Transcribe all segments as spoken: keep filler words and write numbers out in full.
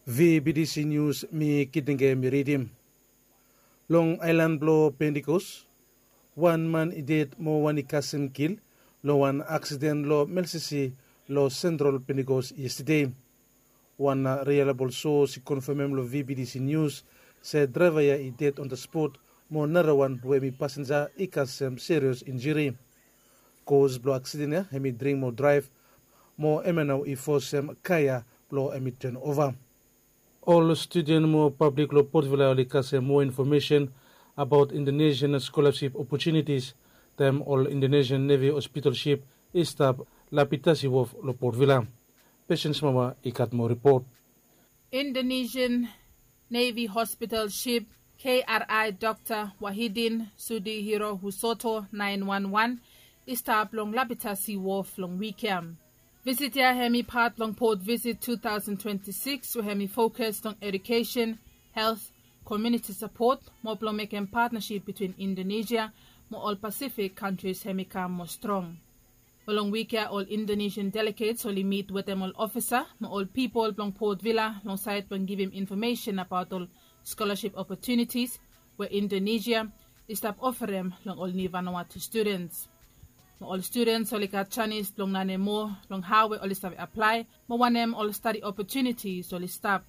V B T C News, mi Kitenge mi ridim. Long aelan blong Pentikos, wan man i ded mo wan i kasem kil long wan aksiden long Melsisi long Sentral Pentikos yestede. Wan reliable source i konfamem long V B T C News se draeva ya i ded on the spot mo narawan we hem i pasenja i kasem serious injuri. Kos blong aksiden ya hem i dring mo draev mo hem ya nao i fosem kar ya blong hem i ten ova. Ol studen mo pablik long Port Vila oli kasem moa infomesen abaot Indonesian scholarship opportunities taem ol Indonesian Navy hospital ship i stap Lapitasi Wharf long Port Vila. Patience Mama i gat moa ripot. Indonesian Navy Hospital ship K R I Doctor Wahidin Sudihiro Husoto nine one one i stap long Lapitasi Wharf long wik ya. Visit ya hem i pat blong Port Visit two thousand twenty-six we hem i fokus long education, health, community support mo blong mekem partnership between Indonesia mo ol Pacific countries hem i kam moa strong. Mo long wik ya ol Indonesian delegates oli mit wetem ol ofisa mo ol pipol blong Port Vila long saed blong givim infomesen abaot ol scholarship opportunities we Indonesia i stap ofarem long ol niu Vanuatu studens. Mo ol studens oli gat janis blong lanem moa long hao we oli save aplae mo wanem ol stadi opportunities oli stap.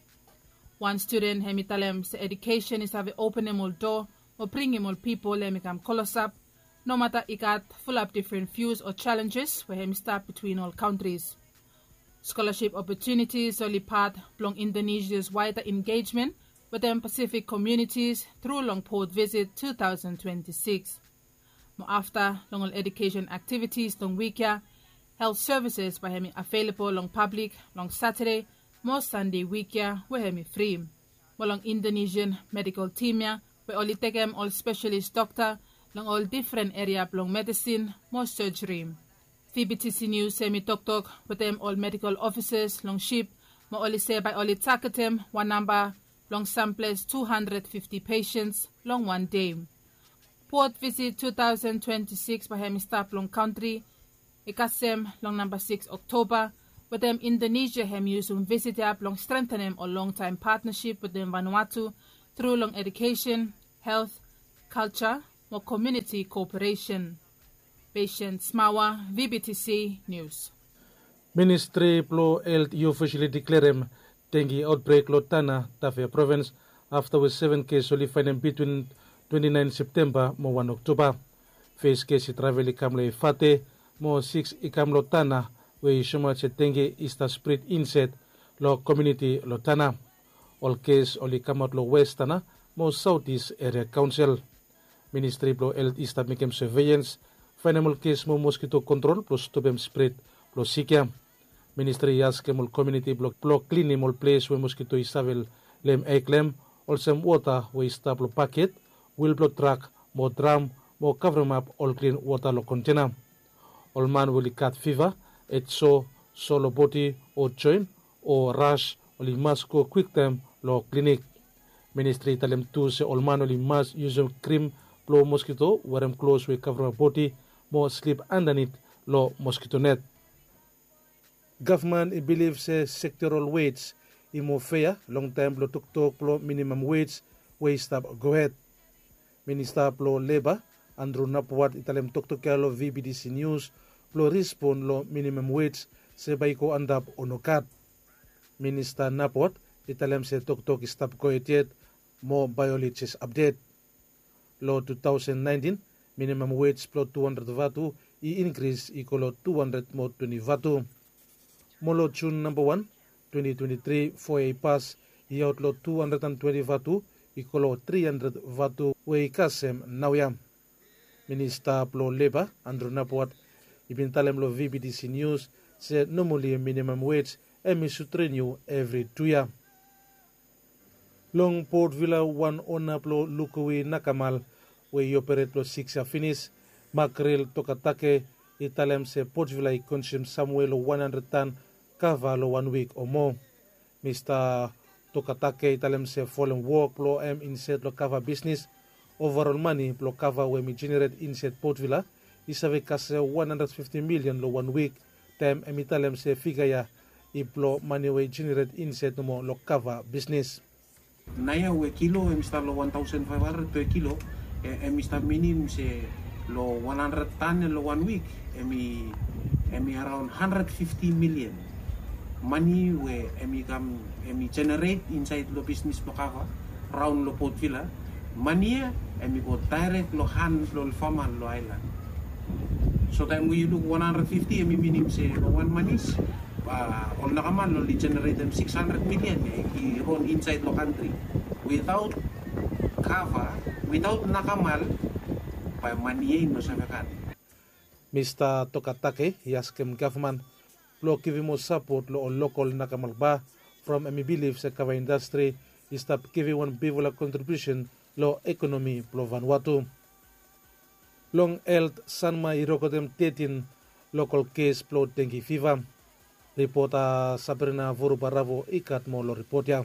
Wan studen hem i talem se edukesen i save openem ol doa mo bringim ol pipol hem i kam klosap, nomata i gat fulap difren vius o jalenjes we hem i stap bitwin ol kantris. Scholarship opportunities oli pat blong Indonesia's wider engagement wetem Pacific communities tru long Port Visit two thousand twenty-six. Mo afta long ol education activities long wik ya, health services bae hem i available long pablik long Saturday mo Sunday wik ya we hem i fri. Mo long Indonesian medical team ya we oli tekem ol specialist dokta long ol difren eria blong medisin mo surgery. V B T C News hem i toktok wetem ol medical officers long ship mo oli se bae oli tagetem wan namba blong samples two hundred fifty patients long wan dei. Port Visit two thousand twenty-six bae hem i stap long kantri i kasem long namba six Oktoba, wetem Indonesia hem i yusum visit ya blong strentenem ol longtaem patnasip wetem Vanuatu tru long edukesen, health, kalja mo komuniti koperesen. Patience Mawa, V B T C News. Ministri blong Helt i ofisali deklerem dengi aotbrek long Tanna, Tafea provins, afta we seven kes oli faenem bitwin twenti naen Septemba mo wan Oktoba. Fes kes i travel i kam long Efate, mo siks i kam long Tanna, we i soemaot se dengi i stap spred insaed long komuniti long Tanna. Ol kes oli kamaot long West Tanna mo Saotis Eria Kaonsel. Ministri blong Helt i stap mekem seveilans, faenem ol kes mo moskito kontrol blong stopem spred blong sik ya. Ministri i askem ol komuniti blong, blong klinim ol ples we moskito i save leem eg long hem, olsem wota we i stap long baket, wil blong trak mo dram, mo kavremap ol klin wota long kontena. Ol man we oli gat fiva, hed so, so long bodi o joen, o ras, oli mas go kwiktaem long klinik. Ministri i talem tu se ol man oli mas yusum krim blong moskito, werem klos we i kavremap bodi, mo slip andanit long moskito net. Gavman i bilif se sektoral wej i moa fea long taem blong toktok blong minimam wej we i stap gohed. Minista blong Leba, Andrew Napuat, i talem toktok ya long V B T C News blong respon long minimam wej, se bae i go antap o nogat. Minista Napuat i talem se toktok i stap gohed yet, mo bae oli jes apdet. Long tu taosen naentin, minimam wej blong tu handred vatu i inkris i go long tu handred mo twenti vatu. Mo long Jun namba wan, twenti twenti tri, foa ya i pas, i aot long tu handred an twenti vatu i go long tri handred vatu we i kasem naoia. Minista blong Leba, Andrew Napuat, i bin talem long V B T C News se nomali minimam wej hem i sud riniu evri tu yia. Long Port Vila, wan ona blong Lukowi Nakamal we i operet long siks yia finis, Makril Tokatake, i talem se Port Vila i konsum samwe long wan handred tan kava long wan wik o moa. Mista Tokatake i talem se folem wok blong hem insaed long kava bisnis, ovarol mane blong kava we hem i jeneret insaed Port Vila i save kasem wan handred fifti milian long wan wik, taem hem i talem se figa ya i blo mane we i jeneret insaed nomo lo kava bisnes. Naoia we kilo hem i stap lo wan taosen faef handred pe kilo, hem i stap minim se lo wan handred tan lo wan wik, hem i araon handred fifti milian. Mane we hem i kam hem i jeneret insaed lo bisnes blo kava raon lo potvila, mane ya hem i go daerek lo han blo ol fama lo aelan. So taem we yu luk wan handred fifti hem i minim se lo wan manis, ol nakamal oli jeneretem siks handred milian ya i ron insaed lo kantri. Witaot kava, witaot nakamal, bae mane ya i no save kam. Mista Tokatake i askem gavman blo givim moa sapot lo ol lokol nakamal ba, from hem i bilif se kava indastri i stap givim wan bigfala kontribiusen lo ekonomi blo Vanuatu. Long elt, Sanma i rekodem tetin lokol kes blo dengi fiva. Ripota Sabrina Vorubaravo i gat moa lo ripot ya.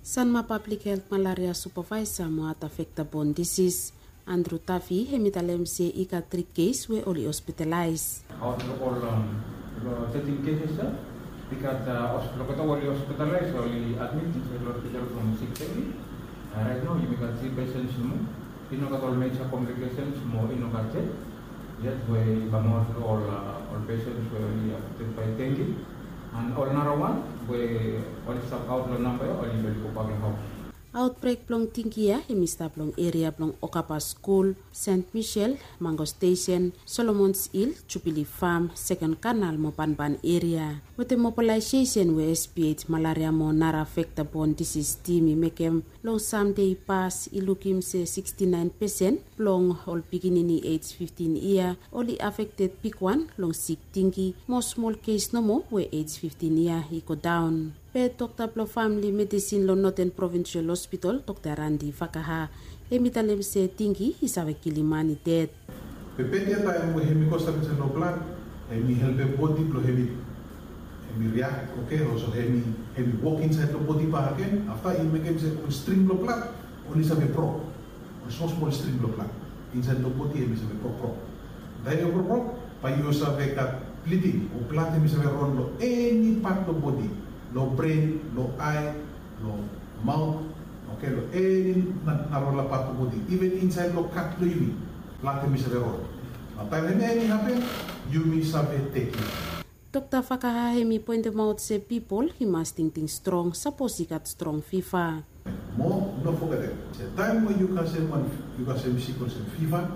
Sanma Pablik Helt Malaria Supavaesa mo Ata Vekta Bon Disis, Andru Tavi, hem i talem se i gat tri kes we oli hospitalaes. Aot lo ol tetin keses ya, i gat olgeta we oli hospitalaes, oli admit insaed lo hospital from sik teti. Raet nao yumi gat tri pesens nomo. I no gat ol meja komplikesens mo i no gat ded yet we i kamaot lo ol pesens we oli afekted bae dengi. An ol narawan we oli stap aot lo namba ya oli gobak lo haos. Aotbrek blong dengi ya hem i stap long eria blong Okaba Skul, Sent Misel, Mango Stesen, Solomons Hil, Jubili Fam, Seken Kanal mo banban eria. Wetem mobalaesesen we SPH Malaria mo nara Vekta Bon Disis Tim i mekem long Sande i pas, i lukim se siksti naen pesen blong ol pikinini ej fiftin yia oli afekted bigwan long sik dengi, mo smol kes nomo we ej fiftin yia i godaon. Be dokta blong famili medisin long Noten Provinsial Hospital, Dokta Randi Vakaha, hem i talem se dengi i save kilim man i ded. Be bad ya taem we hem i go stap insaed lo blad, hem i helpem bodi blong hem i, hem i riak, oke, olsem hem i wok insaed lo bodi bakegen, afta i mekem se ol string blo blad oli save brok. Ol smol smol string blo blad insaed lo bodi hem i save brokbrok. Taem i brokbrok, bae yu save gat bliding o blad hem i save ron lo eni pat lo bodi, lo bren, lo ae, lo maot, oke, lo eni narafala pat lo bodi, iven insaed lo kat blo yumi, blad hem i save ron. Nao taem hemia hem i hapen, yumi save tekem. Dokta Vakaha hem i poentemaot se pipol i mas tingting strong sapos i gat strong fiva. Mo no fogetem se taem we yu kasem wan, yu kasem sik olsem fiva,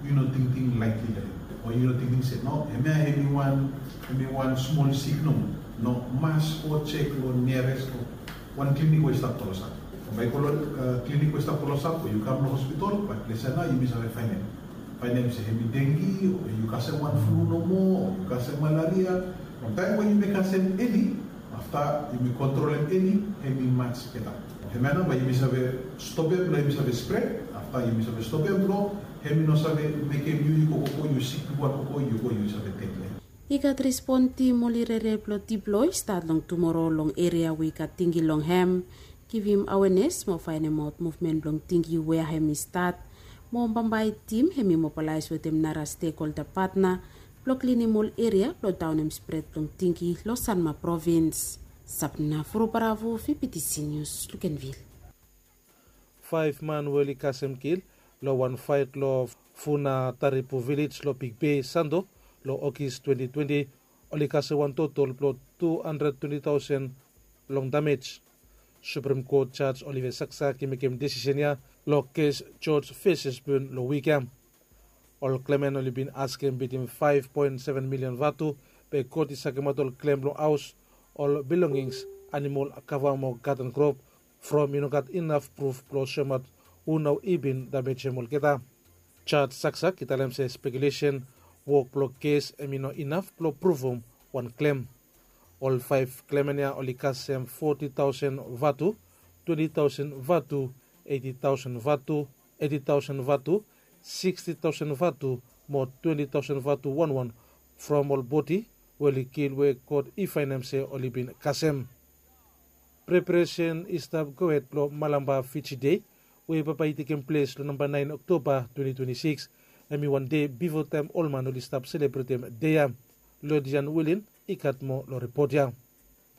yu no tingting laetli lo hem, o yu no tingting se no, hemia hem i wan, hem i wan smol sik nomo. No, mas go jek lo niares lo wan klinik we i stap klosap. Bae yu go lo klinik we i stap klosap o yu kam lo hospital, bae ples ya nao yumi save faenem, faenem se hem i dengi o yu kasem wan flu nomo o yu kasem malaria. From taem we yumi kasem eli, afta yumi kontrolem eli, hem i maj beta. Hemia nao bae yumi save stopem blo hem i save spred, afta yumi save stopem blo hem i no save mekem yu, yu go, go, yu sik bigwan, go, go, yu go, yu save ded lo hem. I gat respon tim oli rere blo diploi stat long tumoro long eria we i gat dengi long hem, givim awenes mo faenemaot muvmen blong dengi wea hem i stat. Mo bambae tim hem i mobalaes wetem nara stekholda patna blo klinim ol eria blo daonem spred blong dengi lo Sanma Provins. Sabna Furubaravu, VBTC Nius, Lukenvil. Faef man we oli kasem kil lo wan faet lo Funa Taripu Vilej lo Big Bay, Santo, lo Ogis twenti twenti, oli kasem wan totol blo tu handred twenti taosen long damej. Suprem Kot Jaj Oliver Saksak i mekem desisen ya lo kes Joj Feses Bun lo wik ya. Ol klemmen oli bin askem bitim faef poen seven milian vatu, be kot i sakemaot ol klem blong haos, ol bilongings, animol, kava mo gaden krop, from i no gat inaf pruf blong soemaot hu nao i bin damejem olgeta. Jaj Saksak i talem se spekulesen wok blong kes hem i no inaf blong pruvum wan klem. Ol faef klemmen ya oli kasem foti taosen vatu, twenti taosen vatu, eiti taosen vatu, eiti taosen vatu, siksti taosen vatu mo twenti taosen vatu wanwan from ol bodi we oli kil we kot i faenem se oli bin kasem. Preparesen i stap gohed blo Malampa Fiji Dei we bambae i tekem ples lo namba naen Oktoba twenti twenti sikis. Hem i wan dei bifo taem ol man oli stap selebretem dei ya. Lodian Wilin i gat moa lo ripot ya.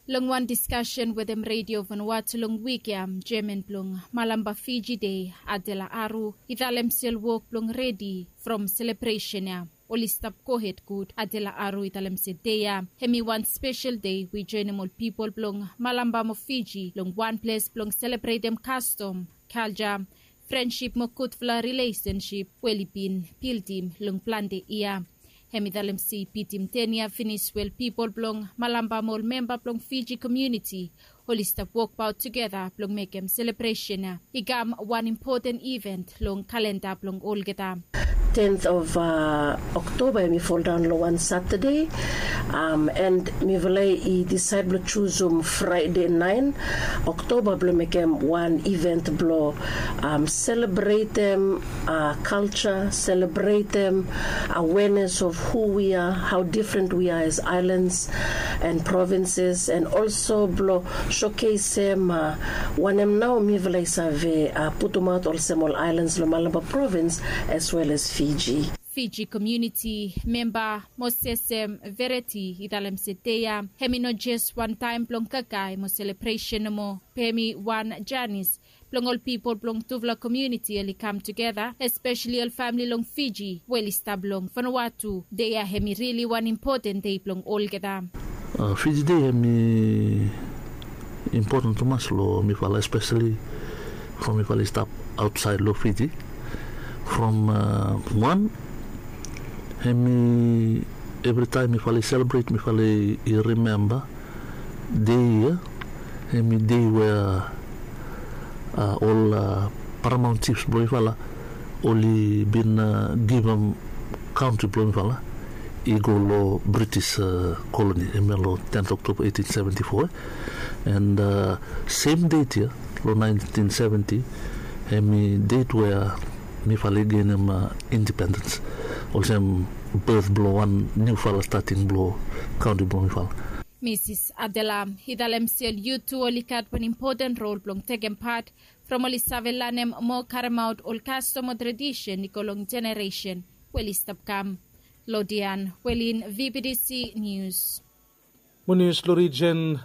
Long wan diskasen wetem redio Vanuatu long wik ya, jeman blong Malamba Fiji Dei, Adela Aru, i talem se ol wok blong redi from selebresen ya oli stap gohed gud. Adela Aru i talem se dei ya hemi wan spesel dei we i joenem ol pipol blong Malamba mo Fiji long wan ples blong selebretem kastom, kalja, frensip mo gudfala rilesensip we oli bin bildim long plante yia. Hem i talem se i bitim ten yia finis we ol pipol blong Malamba mo ol memba blong Fiji komuniti oli stap wokbaot tugeta blong mekem selebresen ya i kam wan impoten iven long kalenda blong olgeta. Tenth of uh, Oktoba hemi foldaon long wan Satade, um, and mifala i disaed blong jusum Fraede naen Oktoba blong mekem wan iven blong um, selebretem uh, kalja, selebretem awareness of who we are, how different we are as islands and provinces, and also blong showcasem uh, wanem nao mifala i save uh, putumaot olsem ol islands long Malamba provins as well as Fiji. Fiji komuniti memba Mosesem Vereti i talem se dei ya hemi no jes wan taem blong kakae mo selebresen nomo, be hemi wan janis blong ol pipol blong tufala komuniti oli kam tugeta, espeseli ol famili long Fiji we oli stap long Vanuatu. Dei ya hemi rili wan impoten dei blong olgeta. Uh, Fiji Dei hemi impoten tumas long mifala, espeseli from mifala i stap aotsaed long Fiji. From uh, wan hemi evritaem mifala i selebret, mifala i rimemba dei ya hemi dei we uh, ol uh, paramaon jifs blong mifala oli bin uh, givim kantri blong mifala i go long British uh, koloni, hemia long tenth Oktoba eighteen seventy-four. And uh, sem det ya long nineteen seventy, hemi det we uh, mifala i genim uh, indipendens, olsem beth blong wan niufala stating blong kantri blong mifala. Misis Adela i talem se ol yut tu oli gat wan impoten rol blong tekem pat from oli save lanem mo karemaot ol kastom o tradisen i go long jeneresen we oli stap kam. Lodian Welin, V B D C Nius. Mo nius long rijen,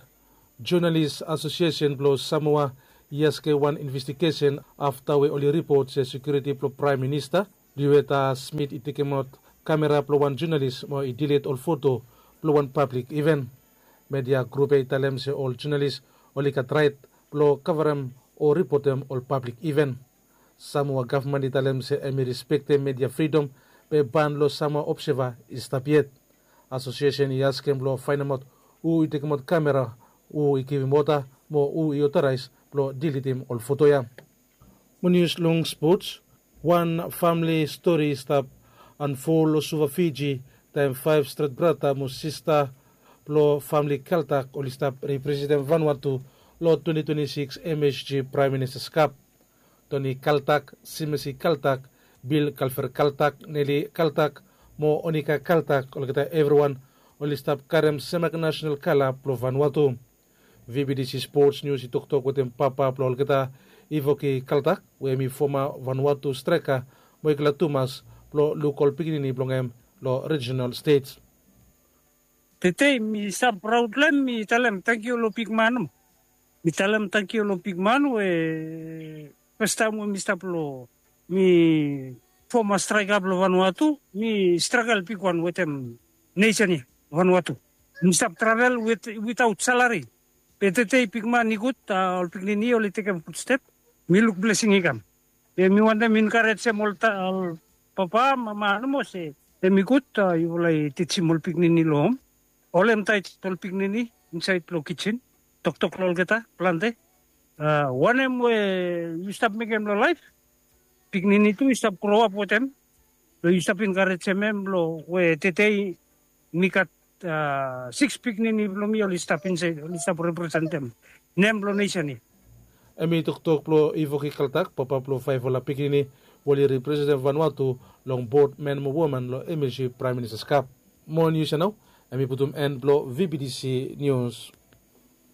Jonalis Asosiesen blong Samoa i askem wan investigesen afta we oli ripot se sekiuriti blong Praem Minista Luetta Smith i tekemaot kamera blong wan jonalis mo i dilit ol foto blong wan pablik iven. Media grup ya i talem se ol jonalis oli gat raet blong kavarem o ripotem ol pablik iven. Samoa gavman i talem se hem i respektem media fridom, be ban long Samoa Observer i stap yet. Asosiesen i askem blong faenemaot hu i tekemaot kamera, hu i givim oda mo hu i otoraes blong dilitim ol foto ya. Mo nius long spots, wan famili stori i stap anfol long Suva, Fiji, taem faef stret brata mo sista blong famili Kaltak oli stap representem Vanuatu long twenti twenti sikis M S G Praem Ministas Kap. Toni Kaltak, Simesi Kaltak, Bil Kalfer Kaltak, Neli Kaltak mo Onika Kaltak, olgeta evriwan oli stap karem semak nasenal kala blong Vanuatu. V B D C Sports News i toktok wetem papa blong olgeta, Ivoki Kaltak, we hem i foma Vanuatu straeka mo i glad tumas blong luk ol pikinini blong hem long rijenal stej. Tede mi stap praod long hem, mi talem tangkiu long bigman. Mi talem tangkiu long bigman we fastaem we mi stap long, mi foma straeka blong Vanuatu, mi stragel bigwan wetem nesen ya Vanuatu. Mi stap travel wit, witaot salari. Be tede bigman i gud, a, ol pikinini oli tekem gud step. Mi luk blesing i kam. Be mi wantem enkarejem ol ta, ol papa, mama nomo se hem i gud, a, yufala i tijim ol pikinini long hom. Holem taet ol pikinini insaed long kijen. Toktok long olgeta plante. A, wanem we yu stap mekem long laef, pikinini tu i stap groap wetem. Long yu stap enkarejem hem long we tede mi gat, a, sikis pikinini blong mi oli stap insaed, oli stap representem nem blong nesen ya. Hem i toktok blong Ivoki Kaltak, papa blong faefala pikinini we oli representem Vanuatu long bod men mo woman long M S G Praem Ministas Kap. Mo nius ya nao, hem i putum en blong V B D C Nius.